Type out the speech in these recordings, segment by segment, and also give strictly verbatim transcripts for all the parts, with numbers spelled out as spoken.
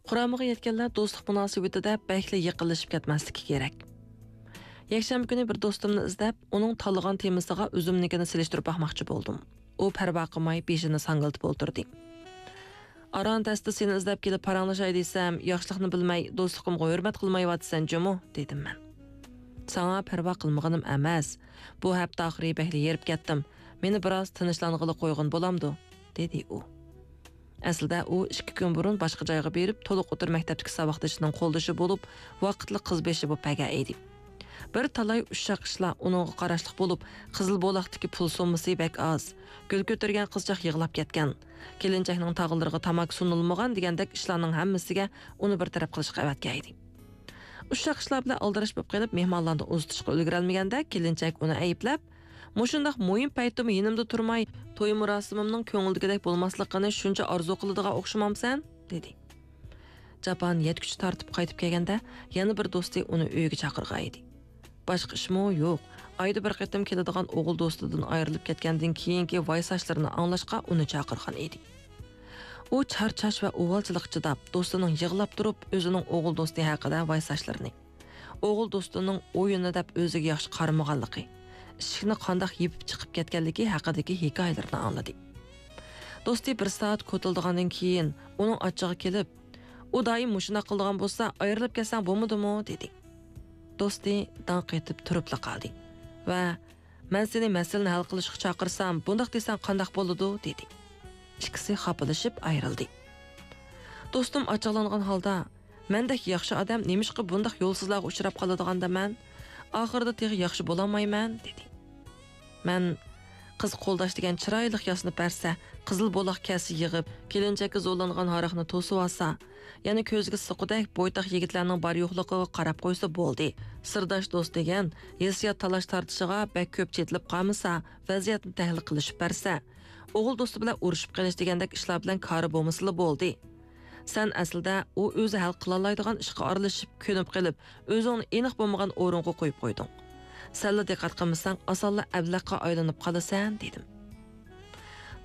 قۇرامىغا يەتكەنلەر دوستلۇق مۇناسىۋىتىدە بەكلا يېقىنلىشىپ كەتمەسلىكى كېرەك. يەكشەنبە كۈنى بىر دوستۇمنى ئىزدەپ، ئۇنىڭ تاللىغان تېمىسىغا ئۆزۈمنىڭكىنى سېلىشتۇرۇپ باقماقچى بولدۇم. ئۇ پەرۋا قىلماي بېشىنى ساڭگىلىتىپ ئولتۇردى. «ئاران تەستە سېنى ئىزدەپ كېلىپ پاراڭلىشاي دېسەم، ياخشىلىقنى بىلمەي، دوستلۇقۇمغا ھۆرمەت قىلمايۋاتىسەن جۇمۇ» دېدىم مەن. «ساڭا پەرۋا قىلمىغىنىم ئەمەس. بۇ ھەپتە ئاخىرى بەكلا ھېرىپ كەتتىم. مېنى بىراز تىنچلانغىلى قويغىن بولامدۇ؟» دېدى ئۇ. ئەسلىدە ئۇ ئىككى كۈن بۇرۇن باشقا جايغا بېرىپ، تولۇق ئوتتۇرا مەكتەپتىكى ساۋاقدىشىنىڭ قولدىشى بولۇپ، ۋاقىتلىق قىز بېشى بولۇپ بەرگەن ئىدى. بىر تالاي ئۇششاق ئىشلار ئۇنىڭغا قاراشلىق بولۇپ، قىزىل بولاقتىكى پۇل سوممىسى بەك ئاز. گۈل كۆتۈرگەن قىزچاق يىغلاپ كەتكەن. كېلىنچەكنىڭ تاغىلىرىغا تاماكا سۇنۇلمىغان دېگەندەك ئىشلارنىڭ ھەممىسىگە ئۇنى بىر تەرەپ قىلىشقا ئەۋەتكەن ئىدى. ئۇششاق ئىشلار بىلەن ئالدىراش بولۇپ قېلىپ، مېھمانلارنى ئۇزىتىشقا ئۈلگۈرەلمىگەندە، كېلىنچەك ئۇنى ئەيىبلەپ، «مۇشۇنداق مۇھىم پەيتتىمۇ يېنىمدا تۇرماي، توي مۇراسىمىمنىڭ كۆڭۈلدىكىدەك بولماسلىقىنى شۇنچە ئارزۇ قىلىدىغان ئوخشىمامسەن؟» دېدى. جاپانى يەتكۈچە تارتىپ قايتىپ كەلگەندە، يەنە بىر دوستى ئۇنى ئۆيىگە چاقىرغان ئىدى. باشقا ئىشمۇ يوق. ئايدا بىر قېتىم كېلىدىغان ئوغۇل دوستىدىن ئايرىلىپ كەتكەندىن كېيىنكى ۋايساشلىرىنى ئاڭلاشقا ئۇنى چاقىرغان ئىدى. ئۇ چارچاش ۋە ئۇۋالچىلىققا چىداپ، دوستىنىڭ يىغلاپ تۇرۇپ، ئۆزىنىڭ ئوغۇل دوستى ھەققىدە ۋايساشلىرىنى، ئوغۇل دوستىنىڭ ئويۇننى دەپ ئۆزىگە ياخشى قارىمىغانلىقى، ئىشىكنى قانداق يېپىپ چىقىپ كەتكەنلىكى ھەققىدىكى ھېكايىلىرىنى ئاڭلىدى. دوستى بىر سائەت كوتۇلدىغاندىن كېيىن، ئۇنىڭ ئاچچىقى كېلىپ، «ئۇ دائىم مۇشۇنداق قىلىدىغان بولسا، ئايرىلىپ كەتسەڭ بولمىدىمۇ؟» دېدى. دوستى داڭ قېتىپ تۇرۇپلا قالدى ۋە، «مەن سېنى مەسىلىنى ھەل قىلىشقا چاقىرسام، بۇنداق دېسەڭ قانداق بولىدۇ؟» دېدى. ئىككىسى خاپىلىشىپ ئايرىلدى. دوستۇم ئاچچىقلانغان ھالدا، «مەندەك ياخشى ئادەم نېمىشقا بۇنداق يولسىزلارغا ئۇچراپ قالىدىغاندا مەن؟ ئاخىرىدا تېخى ياخشى بولالمايمەن» دېدى. مەن، «قىز قولداش دېگەن چىرايلىق ياسىنىپ بەرسە، قىزىل بولاق كەلسە يىغىپ، كېلىنچەككە زورلانغان ھاراقنى توسۇۋالسا، يەنە كۆزىگە سوققۇدەك بويتاق يىگىتلەرنىڭ بار-يوقلۇقىغا قاراپ قويسا بولدى. سىرداش دوست دېگەن ھېسسىيات تالاش-تارتىشىغا بەك كۆپ چېتىلىپ قالمىسا، ۋەزىيەتنى تەھلىل قىلىشىپ بەرسە، ئوغۇل دوستى بىلەن ئۇرۇشۇپ قېلىش دېگەندەك ئىشلار بىلەن كارى بولمىسىلا بولدى. سەن ئەسلىدە ئۇ ئۆزى ھەل قىلالايدىغان ئىشقا ئارىلىشىپ، كۆنۈپ قېلىپ، ئۆزۈڭنى ئېنىق بولمىغان ئورۇنغا قويۇپ قويدۇڭ. سەنلا دىققەت قىلمىساڭ، ئاسانلا ئەبلەخكە ئايلىنىپ قالىسەن» دېدىم.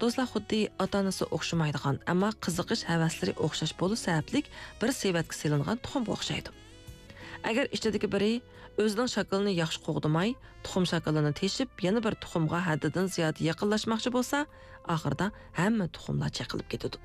دوستلار خۇددى ئاتا-ئانىسى ئوخشىمايدىغان، ئەمما قىزىقىش ھەۋەسلىرى ئوخشاش بولۇش سەۋەبلىك بىر سېۋەتكە سېلىنغان تۇخۇمغا ئوخشايدۇ. ئەگەر ئىچىدىكى بىرى ئۆزىنىڭ شاكىلىنى ياخشى قوغدىماي، تۇخۇم شاكىلىنى تېشىپ، يەنە بىر تۇخۇمغا ھەددىدىن زىيادە يېقىنلاشماقچى بولسا، ئاخىرىدا ھەممە تۇخۇملار چېقىلىپ كېتىدۇ.